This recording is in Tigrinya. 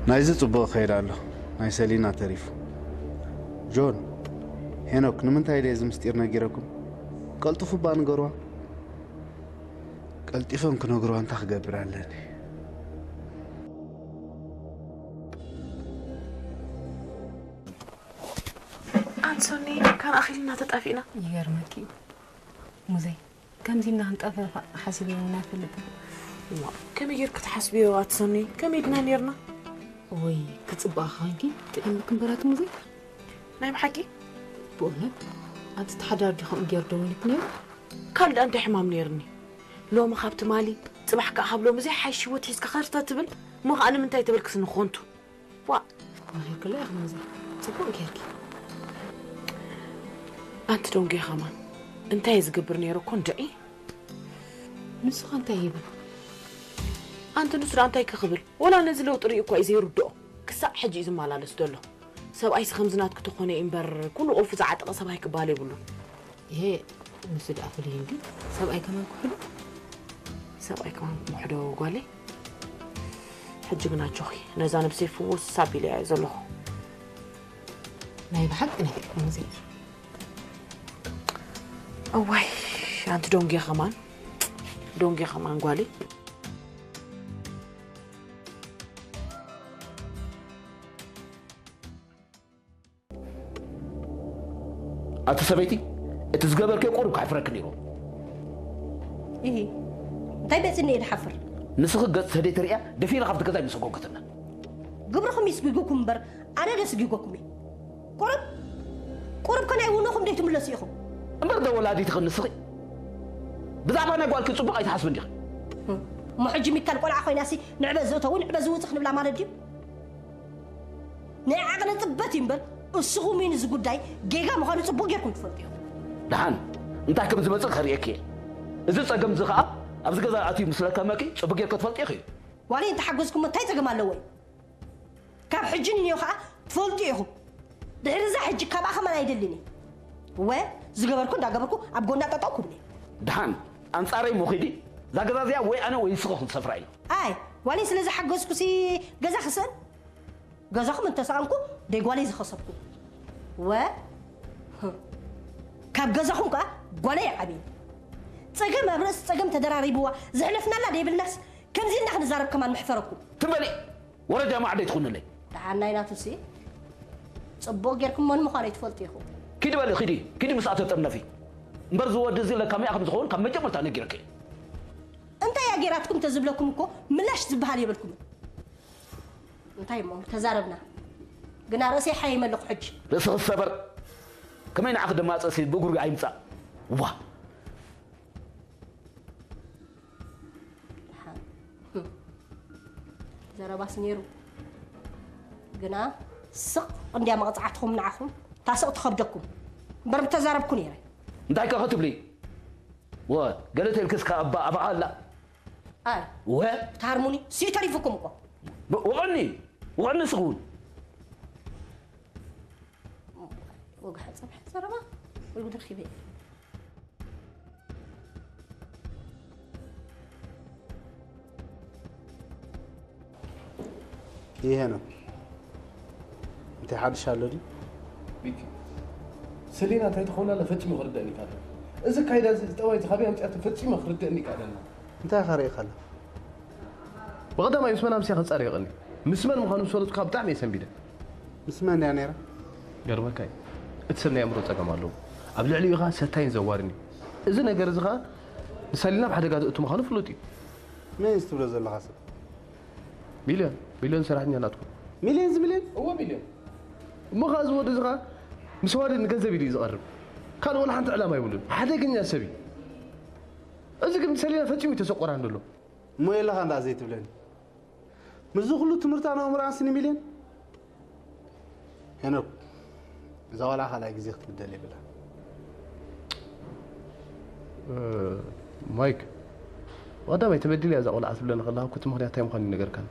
ናይዚ ጽቡቕ ይኸይድ ኣሎ፣ ናይ ሰሊና ተሪፉ። ጆን፣ ሄኖክ፣ ንምንታይ ድየ እዚ ምስጢር ነጊረኩም? ቀልጥፉ እባ ንገርዋ። ቀልጢፎም ክነግርዋ እንታይ ክገብር ኣለኒ? ኣንሶኒ፣ ካን ኣኺልና ተጣፊእና። ይገርመኪ እዩ ሙዘይ፣ ከምዚ ኢልና ክንጠፈፋ ሓሲበ እውን ኣይፈልጥን። እዋ፣ ከመይ ጌርክ ትሓስብዮ ኣቲ ሶኒ? ከመይ ድና ኔርና? ወይ ክጽብቕ ኮንኪ ጥዒምኪ እምበር ኣቲ ሙዘይ። ናይ ብሓቂ? ብእውነት ኣቲ ተሓዳር ዲ ከምኡ ገይሩ ደዊሉኪ ነይሩ? ካልእ እንታይ ሕማም ኔርኒ? ሎሚ ካብ ትማሊ፣ ጽባሕ ከኣ ካብ ሎሚ ዘይሓይሽ ህይወት ሒዝካ ከርተ ትብል። እሞ ከኣ ንምንታይ ተበልክስኒ ኮንቱ? ዋ፣ መኺርክላ ኢኺ ሙዘይ። ጽቡቕ ጌርኪ። ኣንቲ ደንጉየ ከማን እንታይ እየ ዝገብር ነይረ እኮ እንድዒ። ንሱ ኸ እንታይ ይብል? ኣንቲ ንሱ ደኣ እንታይ ከ ክብል? ወላ ነዚ ለውጢ ርእዩ እኳ እዩ ዘይርድኦ። ክሳዕ ሕጂ እዩ ዝመላለስ ዘሎ። ሰብኣይሲ ከምዚ ናትኪ ተኾነ እዩ እምበር፣ ኩሉ ቁልፊ ዝዓጠቐ ሰብኣይ ክበሃል የብሉን። ይሄ ንሱ ደኣ ፍሉይ እንዲ ሰብኣይ ከማን ክሕዶ? ሰብኣይ ከማን ክሕዶ ጓለይ? ሕጂ ግን ኣጆኺ፣ ነዛ ነብሰይ ፍውስ ኣቢለያ እየ ዘለኹ። ናይ ብሓቂ ነጊርኩም እዚ እዋይ ኣንቲ ዶንጌ ኸማን ዶንጌ ኸማን ጓለይ። ኣቲ ሰበይቲ፣ እቲ ዝገበርክዮ ቁሩብ ከሕፍረኪ ነይሩ። ኢሂ፣ እንታይ መጺኒ እየ ዝሓፍር? ንስኺ ገጽ ሰደይቲ ርእያ ደፊራ ካብቲ ገዛ ኣይምሰጎገትና። ግብርኹም እዩ ስጒጉኩም እምበር ኣነ ዶ ስጒጎኩም እየ? ቁሩብ ቁሩብ ከ ናይ ውኖኹም ደይትምለሱ ኢኹም። እምበር ዶ ወላዲትኺ ንስኺ ብዛዕባ ናይ ጓልኪ ጽቡቕ ኣይትሓስብን ዲኺ? እሞ ሕጂ ሚካል ቆልዓ ኮይናሲ ንዕበ ዘእተዊ ንዕበ ዝውጽእ ክንብላ ማለት ድዩ? ናይ ዓቕሊ ጽበት እዩ እምበር፣ እስኹም እውን እዚ ጉዳይ ጌጋ ምዃኑ ጽቡቕ ጌርኩም ትፈልጡ ኢኹም። ደሓን፣ እንታይ ከም ዝመጽእ ከርእየኪ እየ። እዚ ጸገም እዚ ኸኣ ኣብዚ ገዛ ኣትዩ ምስ ለከመኪ ጽቡቕ ጌርኪ ትፈልጢ ኢኺ። ዋላ እንተሓገዝኩሞ እንታይ ጸገም ኣለዎ እዩ? ካብ ሕጂ ንንዮ ኸኣ ትፈልጡ ኢኹም። ድሕሪ እዛ ሕጂ ካብኣ ኸማን ኣይደልን እየ። እወ፣ ዝገበርኩ እንዳገበርኩ ኣብ ጎና ጠጠው ክብል እየ። ደሓን፣ ኣንጻረይ እሞ ኺዲ፣ እዛ ገዛ እዚኣ ወይ ኣነ ወይ ንስኺ ክንሰፍራ ኢና። ኣይ፣ ዋላ ስለ ዝሓገዝኩሲ ገዛ ክስእን? ገዛኹም እንተሰኣንኩ ደይ ጓለይ ዝኸሰብኩ። ወ ካብ ገዛኹም ከኣ ጓለይ ይዓብየኒ። ጸገም ኣብ ርእሲ ጸገም ተደራሪብዋ ዘሕለፍናላ ደይብልናስ ከምዚ ኢልና ክንዛረብ ከማን መሕፈረኩም። ትም በሊ ወረ ጃማዓ ደይትኹንለይ። ደሓን ናይ ናቱሲ ጽቡቕ ጌርኩም መን ምዃነይ ትፈልጡ ኢኹም። ኪዲ በሊ ኪዲ ኪዲ ምስኣ ተጠርነፊ። እምበር ዝወዲ እዚ ለካሚኣ ከም ዝኸውን ካብ መጀመርታ ነጊረኪ። እንታይ እያ ጌራትኩም ተዝብለኩም እኮ ምላሽ ዝበሃል የብልኩምን። እንታይ እሞ ተዛረብና ግና ርእሰይ ሓይመ ኣለኹ ሕጂ። ርእስኺ ዝሰበር ከመይ ንዓኺ ደማፀሲ ብእግሩ ኣይምፃእ ዋ። ዘረባስ ነይሩ ግና ስቕ እንድያ መቕፃዕትኹም ንዓኹም ታስቕ ትኸብደኩም እምበር ምተዛረብኩ ነይረ። እንታይ ከ ክትብሊ ወ ገለ ተልክስ ከኣባ ኣባኣ ኣላ ኣይ ወ ትሃርሙኒ ስዩ ተሪፉኩም እኮ ወቐኒ ወቐኒ ስኹን ወግሐ ፀብሐ ዘረባ ወይ ጉድ ረኺበ ይሄ ነው እንተ ሓድሽ ኣሎ ድዩ? ሚኪ፣ ሰሊና እንታይ ትኸውን ኣላ ፈጺሙ ክርደእኒ ይካኣል። እዚ ኣካይዳ እዚ፣ እዚ ጠባይ እዚ ካበይ ኣምጺኣቶ ፈጺሙ ክርደእኒ ይካኣል ኣላ። እንታይ ኢኻ ርኢኻ ኣላ? ብቐዳማይ ምስ መን ኣምስያ ከጻርየቐኒ፣ ምስ መን ምዃኑ ምስ ፈለጥኩ ከኣ ብጣዕሚ እየ ሰንቢደ። ምስ መን ድያ ነይራ? ይገርመካ እዩ። እቲ ሰብ ናይ ኣእምሮ ጸገም ኣለዎ። ኣብ ልዕሊኡ ኸኣ ሰታይን ዘዋርን እዩ። እዚ ነገር እዚ ኸኣ ንሰሊና ኣብ ሓደጋ ዘእቱ ምዃኑ ፍሉጥ እዩ። መን እዩ እዚ ትብሎ ዘለኻ ሰብ? ሚልዮን ሚልዮን ሰራሕተኛ ናትኩም። ሚልዮን እዚ ሚልዮን? እወ ሚልዮን። እሞ ኸኣ እዚ ወዲ እዚ ኸኣ ምስ ኣዋልድ ንገንዘብ ኢሉ እዩ ዝቐርብ። ካልእ ወላ ሓንቲ ዕላማ የብሉን። ሓደገኛ ሰብ እዩ። እዚ ግን ሰሊና ፈጺሙ እዩ ተሰቆራን ዘሎ። እሞ የለኻን ደኣ ዘይትብለኒ። ምስዚ ኩሉ ትምህርታን ኣእምሮኣን ስኒ ሚልዮን? ሄኖክ፣ እዛ ቆልዓ ካልኣይ ግዜ ክትብደል የብላን። ማይክ፣ ብቐዳማይ ተበዲላ እያ እዛ ቆልዓ ትብለኒ ከለኻ እኮ እቲ ምኽንያት እንታይ ምዃኑ ኣይነገርካን።